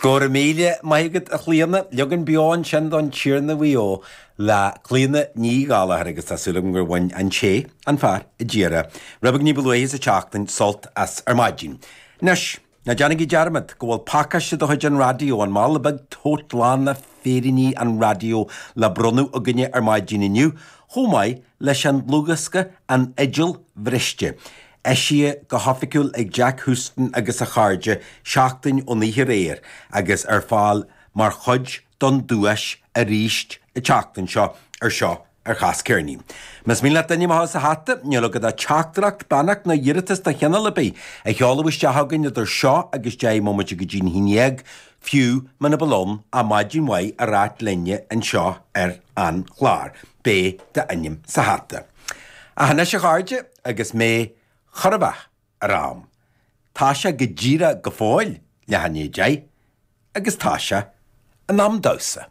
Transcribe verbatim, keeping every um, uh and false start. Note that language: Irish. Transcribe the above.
Go raibh míle maith agat a Chlíona, leagan beo ansin don Tiarna Mhaigh Eo le Clíona Ní Ghallachair agus tá súil agam gur bhain an té, an fear, a d'iarr rud beag ní ba luaithe sa tseachtain sult as ar maidin. Anois, ná déanaigí dearmad go bhfuil pacáiste de chuid an raidió, an mála beag tote lán le féiríní an raidió le bronnadh againne ar maidin inniu, chomh maith leis an dlúthdhiosca An Fhidil Bhriste. Eisithe go hoifigiúil ag Jack Houston agus a chairde seachtain ón oíche aréir agus ar fáil mar chuid don duais arís an tseachtain seo ar seo ar Chas Ceirnín. Más mian leat d'ainm a chur sa hata, níl agat ach teachtaireacht, beannacht nó iarratas de chineál ar bith a sheoladh isteach chugainn idir seo agus deich mbomaite go dtí'n haon dhéag, fiú muna bhfuil ann ach maidin mhaith a ráit linne anseo ar an chlár. Beidh d'ainm sa hata. Ach anois a chairde, agus mé chóir a bheith ar am, tá sé go díreach go fóill leath i ndiaidh a deich agus tá sé in am damhsa.